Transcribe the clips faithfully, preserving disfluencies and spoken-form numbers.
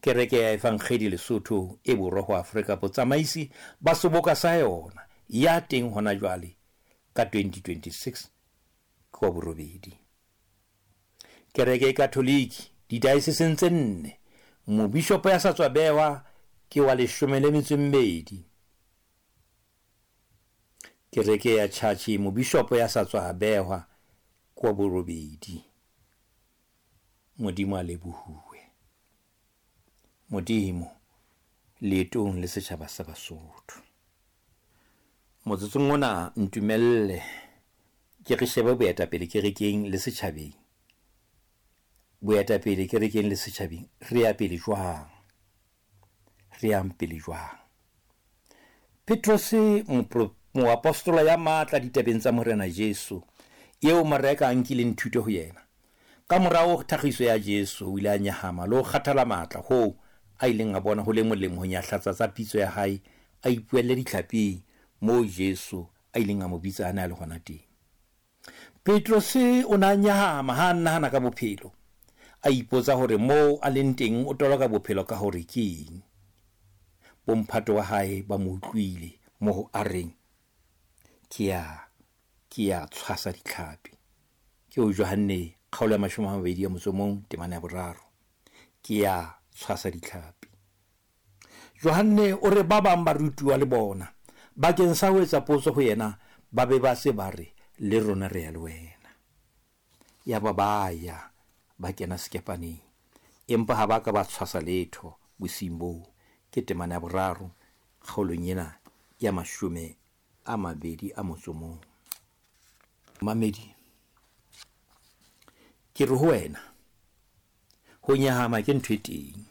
Kereke ya Evangeli Lesotho e borwa ho Afrika, botsamaisi ba seboka sa yona ya teng hona jwale ka twenty twenty-six ke wa borobedi. Kereke e Katoliki didaeseseng tse nne, mobishopo ya sa tswa behwa ke wa leshome le metso e mmedi. Kereke ya Church, mobishopo ya sa tswa behwa ke wa borobedi. Modimo a lebohuwe. Modimo leetong le setjhaba sa Basotho. Motsotsong ona ntumelle ke re shebe boetapele kerekeng le setjhabeng. Boetapele kerekeng le setjhabeng, re ya pele jwang? Re yang pele jwang? Petrose, moapostola ya matla ditabeng tsa Morena Jesu, eo Mareka a nkileng thuto ho yena. Ka morao thakgiso ya Jesu, o ile a nyahama le ho kgathala matla hoo a ileng a bona ho le molemo ho nyahlatsa tsa pitso ya hae, a ipuelle ditlhaping moo Jesu a ileng a mo bitsa a ne a le hona teng. Petrose o ne a nyahama ha a nahana ka bophelo, a ipotsa hore moo a leng teng o toloka bophelo ka hore ke eng. Bomphato wa hae ba mo utlwile moo a reng, ke ya, ke ya tshwasa ditlhapi. Ke ho Johanne kgaolo ya mashome a mabedi a motso o mong temana ya boraro. Ke ya tshwasa ditlhapi. Johanne o re ba bang ba rutuwa le bona bakeng sa ho etsa potso ho yena, ba be ba se ba re le rona re ya le wena. Ya ba ba ya ba kena sekepaneng, empa ha ba ka ba tshwasa letho bosiung boo. Ke temana ya boraro kgaolong ena ya mashome a mabedi a motso o mong. Mamedi, ke re ho wena, ho nyahama ke ntho e teng.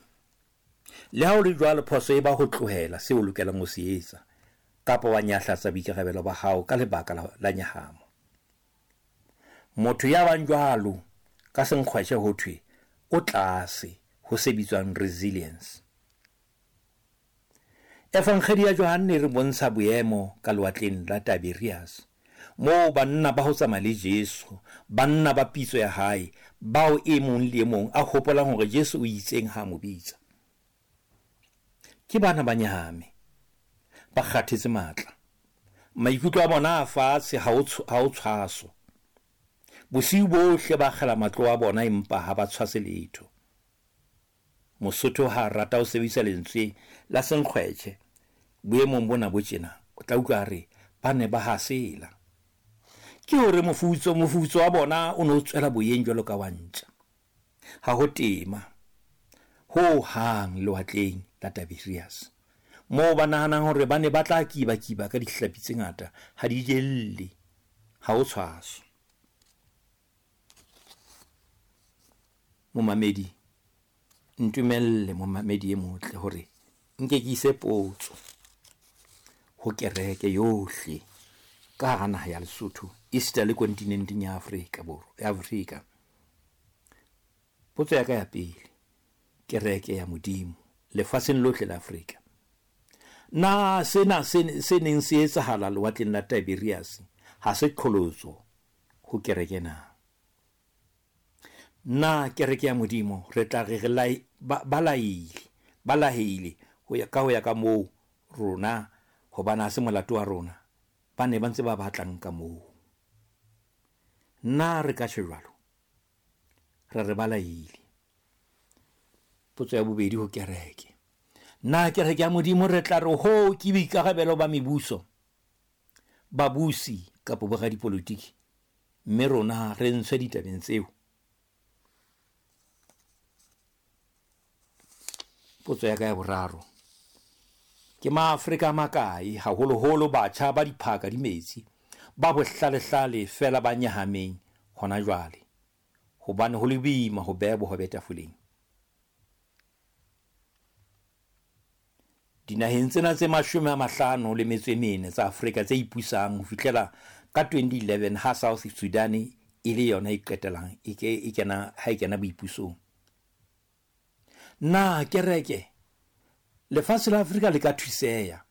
Le ha ho le jwalo, phoso e ba ho tlohela seo o lokelang ho se etsa, kapa wa nyahlatsa boikarabelo ba hao ka lebaka la, la nyahamo. Motho ya bang jwalo ka senkgwetjhe ho thwe o tlase ho se bitswang resilience. Evangeli ya Johanne e re bontsha boemo ka lewatleng la Tiberias, moo banna ba ho tsamaya le Jesu, banna ba pitso ya hae, bao e mong le e mong a hopolang hore Jesu o itseng ha a mo bitsa. Ke bana ba nyahame, ba kgathetse matla, maikutlo a bona a fatshe, ha ho tshwaso. Bosiu bohle ba akgela matlo a bona, empa ha ba tshwase letho. Mosotho ha a rata ho sebedisa lentswe la senkgwetjhe boemong bona bo tjena, o tla utlwa a re ba ne ba hasela. Ke hore mofutso mofutso wa bona o ne o tswela boyeng jwalo ka wa ntja. Ha ho tema ho hang lewatleng la Tiberias, moo ba nahanang hore ba ne ba tla kiba-kiba ka dihlapi tse ngata, ha di jelle, ha ho tshwaso. Momamedi, ntumelle momamedi e motle hore nke ke ise potso ho kereke yohle ka hara naha ya Lesotho, esita le kontinenteng ya Afrika Borwa, ya Afrika. Potso ya ka ya pele, kereke ya Modimo lefatsheng lohle la Afrika, na sena se se neng se etsahala lewatleng la Tiberias ha se qholotso ho kereke na? Na kereke ya Modimo re tla re re lai, ba, ba laile, ba laheile ho ya ka ho ya ka moo rona, hobane ha se molato wa rona, ba ne ba ntse ba batlang ka moo. Na re ka tjho jwalo? Re re ba laile. Potso ya bobedi ho kereke, na kereke ya Modimo re tla re ho ke boikarabelo ba mebuso, babusi kapa boradipolotiki, mme rona re ntshwe ditabeng tseo? Potso ya ka ya boraro, ke maAfrika a makae, haholoholo batjha ba diphaka di metsi, ba bohlalehlale fela ba nyahameng hona jwale, hobane ho le boima ho beha bohobe tafoleng? Dinaheng tsena tse mashome a mahlano le metso e mene tsa Afrika tse ipusang ho fihlela ka twenty eleven ha South Sudan e le yona e qetelang e ke e kena ha e kena boipusong. Na kereke lefatshe la Afrika le ka thuseha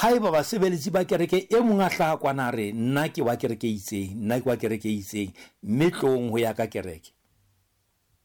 haeba basebeletsi ba kereke e mong a hlaha kwana a re nna ke wa kereke e itseng, nna ke wa kereke e itseng, mme tlong ho ya ka kereke?